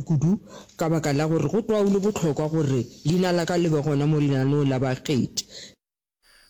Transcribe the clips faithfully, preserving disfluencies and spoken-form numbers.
kudu-kudu ka baka la gore go tloga go le bohlokwa gore leina la ka le be gona mo lenaneong la bakgethi.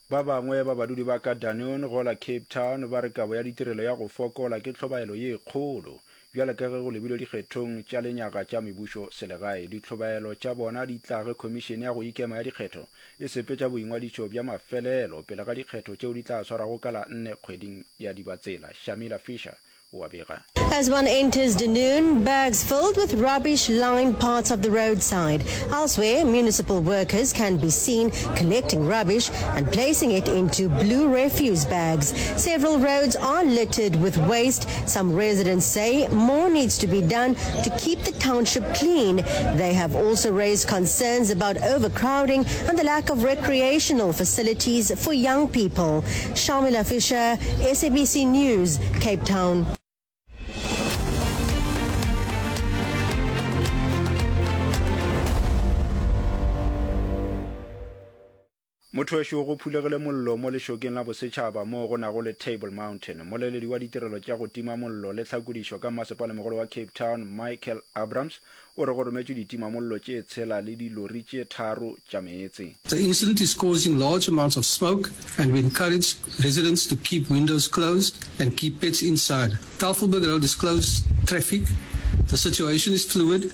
Ba bangwe ba badudi ba ka Dunoon gola Cape Town ba re kabo ya ditirelo ya go fokola ke tlhobaelo ye kgolo bjale ka ge go lebilwe dikgethong tša lenyaga tša mebušo selegae. Ditlhobaelo tša bona di tla ge Khomišene ya go Ikema ya Dikgetho e sepetša boingwadišo bja mafelelo pele ga dikgetho tšeo di tla swarwago ka la nne kgweding ya Dibatsela. Shamila Fisher o a bega. As one enters Dunoon, bags filled with rubbish line parts of the roadside. Elsewhere, municipal workers can be seen collecting rubbish and placing it into blue refuse bags. Several roads are littered with waste. Some residents say more needs to be done to keep the township clean. They have also raised concerns about overcrowding and the lack of recreational facilities for young people. Shamila Fisher, SABC News, Cape Town. Motho wešo go phulegile mollo mo lešokeng la bosetšhaba moo go nago le Table Mountain. Mmoleledi wa ditirelo tša go tima mollo le tlhakodišo ka Mmasepalemogolo wa Cape Town, Michael Abrams, o re go rometšwe ditimamollo tše tshela le dilori tše tharo tša meetse. The incident is causing large amounts of smoke and we encourage residents to keep windows closed and keep pets inside. Tafelberg Road is closed traffic. The situation is fluid.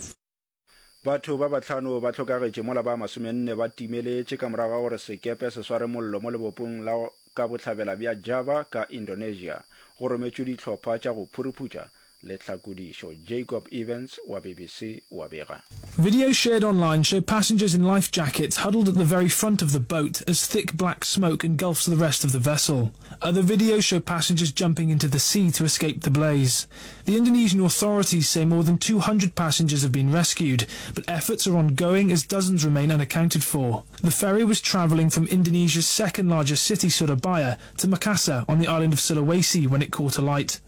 Batho ba bahlano ba hlokagetše mola ba masomenne ba timeletše ka morago ga gore sekepe se sware mollo mo lebopong la ka bohlabela bja Java ka Indonesia. Go rometšwe dihlopha tša go phuruphutša le tlhakodišo. Jacob Evans wa BBC o a bega. Videos shared online show passengers in life jackets huddled at the very front of the boat as thick black smoke engulfs the rest of the vessel. Other videos show passengers jumping into the sea to escape the blaze. The Indonesian authorities say more than two hundred passengers have been rescued, but efforts are ongoing as dozens remain unaccounted for. The ferry was travelling from Indonesia's second largest city, Surabaya, to Makassar on the island of Sulawesi when it caught alight.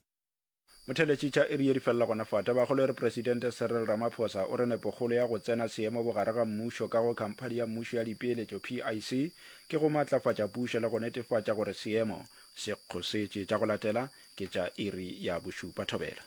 Motheeletši tša iri ye di felela gona fa. Tabakgolo e re Presidente Cyril Ramaphosa o re nepokgolo ya go tsena seemo bogare ga mmušo ka go Khamphani ya Mmušo ya Dipeeletšo, P I C, ke go matlafatša pušo le go netefatša gore seemo se kgosetše. Tša go latela ke tša iri ya bošupa. Thobela.